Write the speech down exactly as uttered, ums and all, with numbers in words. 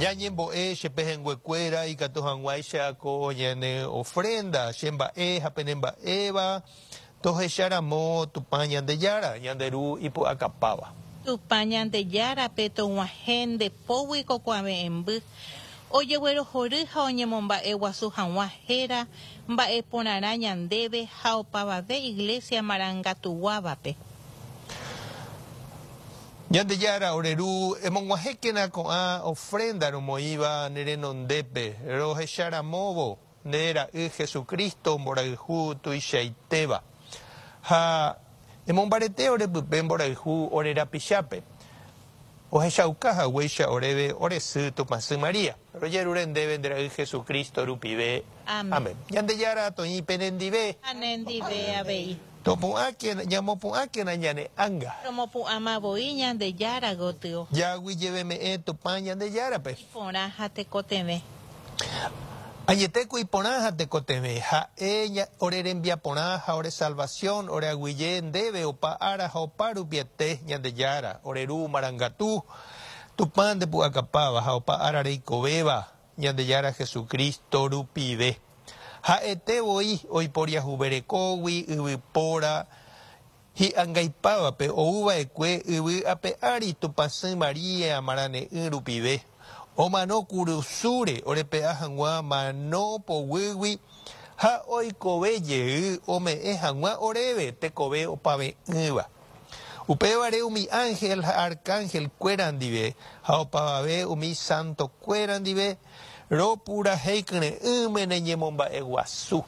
Ñañembo'e che pehẽnguekuéra ikatu hag̃uáicha ko ñane ofrenda che mba'e ha pene mba'éva tohecharamo Tupã Ñandejára, ñande Ru ipu'akapáva. Tupã Ñandejárape tog̃uahẽ nde pógui ko kuave'ẽmby ojeguerohory ha oñemomba'eguasu hag̃ua héra mba'eporãrã ñandéve ha opavave Iglesia marangatuguávape. Ñandejára ore Ru, emog̃uahẽkena ko'ã ofrenda romoĩva ne renondépe, rohecharamóvo nde ra'y Jesucristo mborayhu tuichaitéva. Ha emombarete orepype mborayhu ore rapichápe. Ohechauka haguéicha oréve ore sy Tupãsy Maria. Rojerure ndéve nde ra'y Jesucristo rupive. Amén. Amén. Ñandejára toĩ penendive. Ha nendive avei. Topu'ãkena, ñamopu'ãkena ñane ánga. Romopu'ãmavoi Ñandejára gotyo. Jaguyjeveme'ẽ Tupã Ñandejárape. Iporã ha tekotevẽ. Añetéko iporã ha tekotevẽ. Ha'e ore rembiaporã ha ore salvación, ore aguyje ndéve opa ára ha opa rupiete Ñandejára, ore Ru marangatu, Tupã ndepu'akapáva ha opa ára reikovéva Ñandejára Jesucristo rupive. Ha'ete voi oiporiahuverekógui yvypóra hi'angaipávape ouva'ekue yvy ape ári Tupãsy Maria marane'ỹ rupive. Omano kurusúre orepe'a hag̃ua mano poguýgui ha oikove jey ome'ẽ hag̃ua oréve tekove opave'ỹva. Upévare umi ángel ha arcángel kuéra ndive ha opavave umi santo kuéra ndive ropurahéi kyre'ỹme ne ñemomba'eguasu.